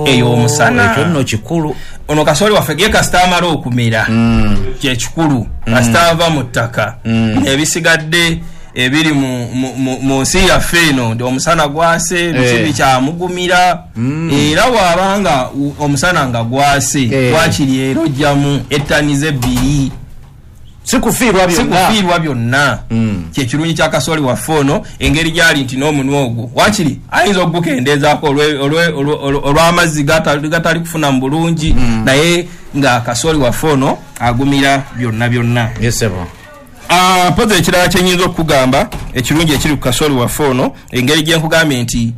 Ey'omusana. Ekyo nno kikulu. Ono kasooli waffe ye kasita amala okumera, kyekikulu, kasita ava mu ttaka, ebisigadde ebiri mu nsi yaffe eno nti omusana gwase, biki bikyamugumira. Era bw'abanga omusana nga gwase, wakiri era ojjamu ettani 2. Si kufiirwa Si byonna. kufiirwa byonna. Kyekirungi kya kasooli waffe ono, engeri gyali nti n'omunwe ogwo wakiri ayinza okugukendeezaako olw'amazzi gatali kufuna mu bulungi, naye nga kasooli waffe ono agumira byonna byonna. Yes, sebo. Mpozi ekirala kyenyinza okukugamba ekirungi ekiri ku kasooli waffe ono, engeri gye nkugambye nti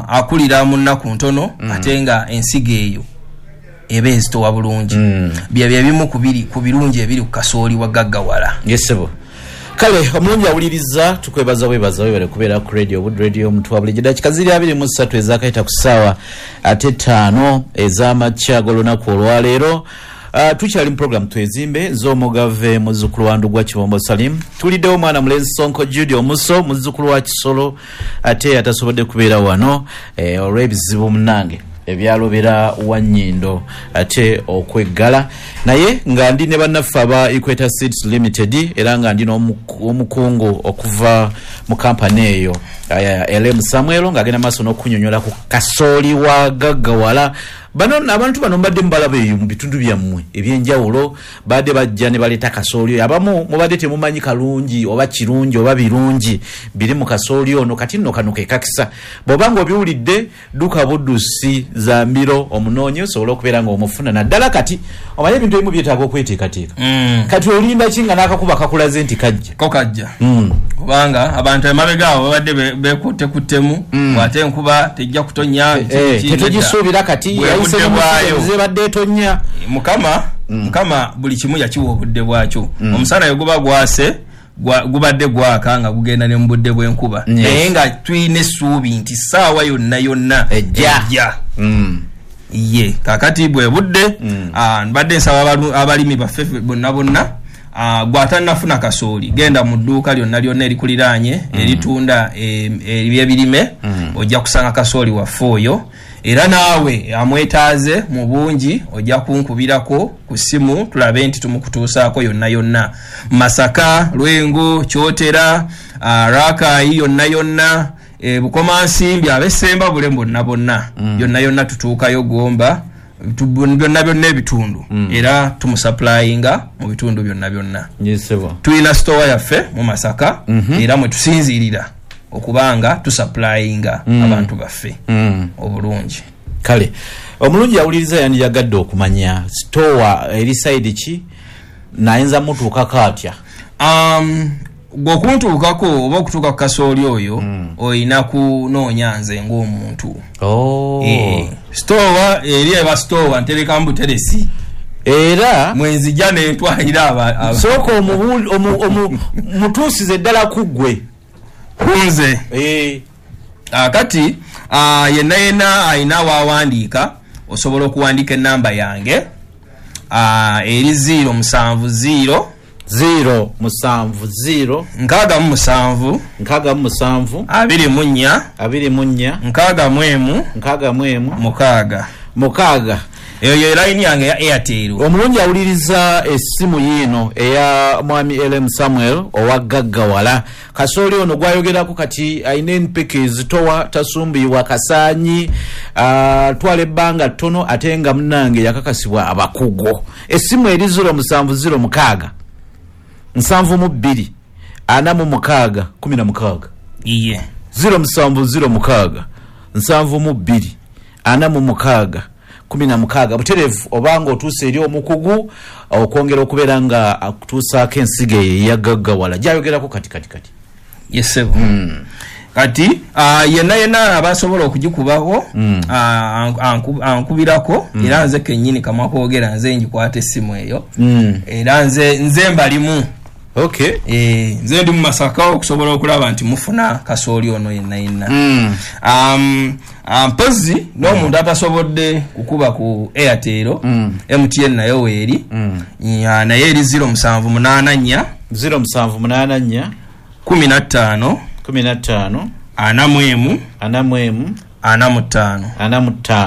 akulira mu nnaku ntono, ate nga ensigo eyo eba ezitowa bulungi, byebyo ebimu ku birungi ebiri ku kasooli wa gaggawala. Yes, sebo. Kale omulungi awuliriza, tukwebaza bwebaza, webale kubeera ku radio Bud Radio omuntu wa bulijjo. Dakika ziri 23 ezakayita ku ssaawa ate 5 ez'amakya g'olunaku olwaleero. Tukyali mu program Twezimbe z'omugave muzzukulu wa Ndugwa Kibombo Salim. Tuliddewo omwana mulenzi Sonko Jude Omuso, muzzukulu wa Kisolo, ate atasobodde kubeera wano, olw'ebizibu munnange ebyalobera Wannyindo ate okweggala, naye nga ndi ne bannaffe aba Equator Seeds Limited, era nga ndi n'omukungu okuva mu kampani eyo, LM Samuel, ng'agenda maaso n'okunyonyola ku kasooli wa gaggawala. Bano abantu bano mbadde mubalaba eyo mu bitundu byammwe ebyenjawulo, badde bajja ne baleeta kasooli oyo. Abamu mubadde temumanyi kalungi oba kirungi oba birungi biri mu kasooli ono. Kati nno kano ke kakisa, bw'oba ng'obiwulidde dduka buddusi za mbiro omunoonye osobole okubeera ng'omufuna, naddala kati omanye ebintu ebimu byetaaga okweteekateeka. Kati olinda ki nga n'akakuba kakulaze nti kajja? Ko kajja. Kubanga abantu emabega awo babadde beekuttekuttemu, ate enkuba tejja kutonnya, biki, nedda. Tetugisuubira kati, Bwe yayise budde mu bwayo. nsi ebadde etonya. Mukama buli kimu yakiwa obudde bwakyo. Omusana we guba gwase, gubadde gwaka nga gugenda ne mu budde bw'enkuba. Naye nga tulina essuubi nti ssaawa yonna yonna Ejja. ejja. Ye kakati bwe budde, mbadde nsaba abalimi baffe bonna bonna, gw'atannafuna kasooli, genda mu dduuka lyonna lyonna erikuliraanye, eritunda ebyebirime, ojja kusanga kasooli waffe oyo. Era naawe amwetaaze mu bungi ojja kunkubirako ku ssimu tulabe nti tumukutuusaako yonna yonna. Masaka, Lwengo, Kyotera, Rakai yonna yonna, Bukomansimbi, ab'Essemba bule bonna bonna. Yonna yonna tutuukayo Gomba, byonna byonna ebitundu. Era tumusupplyinga mu bitundu byonna byonna. Yes, sebo. Tulina store yaffe mu Masaka, era mwe tusinziirira okubanga tusupplyinga abantu baffe obulungi. Kale omulungi awuliriza yandiyagadde okumanya store eri side ki, nayinza mutuukako atya? Gwe okuntuukako oba okutuuka ku kasooli oyo, olina kunoonya nze ng'omuntu. Store eri eba store nterekamu buteresi. Era mwenzijja nentwalira sooka mutuusize ddala ku ggwe. Kunze. Kati, yenna yenna alina waawandiika, osobola okuwandiika ennamba yange, eri 070 070 67 67 24 24 61 61 6 6. Eyo ye line yange ya Airtel. Omulungi awuliriza essimu yiino eya mwami LM Samuel owa Gaggawala. Kasooli ono gwayogerako kati alina empeke ezitowa, tasumbuyiwa kasaanyi, twala ebbanga ttono, ate nga munnange yakakasibwa abakugu. Essimu eri 0706 72 46 16. Iye. 0706 72 46 16. Butereevu obanga otuuse eri omukugu okwongera okubeera nga akutuusaako ensigo eyo eyagaggawala gyayogerako kati kati kati. Yes, sebo. Kati, yenna yenna abasobola okugikubaho, ankubirako, era nze kennyini kamwa kwogera nze ngikwata essimu eyo. Era nze mbalimu. Nze ndi mu Masaka okusobola okulaba nti mufuna kasooli ono yenna yenna. Mpozi n'omuntu atasobodde kukuba ku Airtel, MTN nayo weeri. Naye eri 0784 0784 15 15 41 41 45. 45.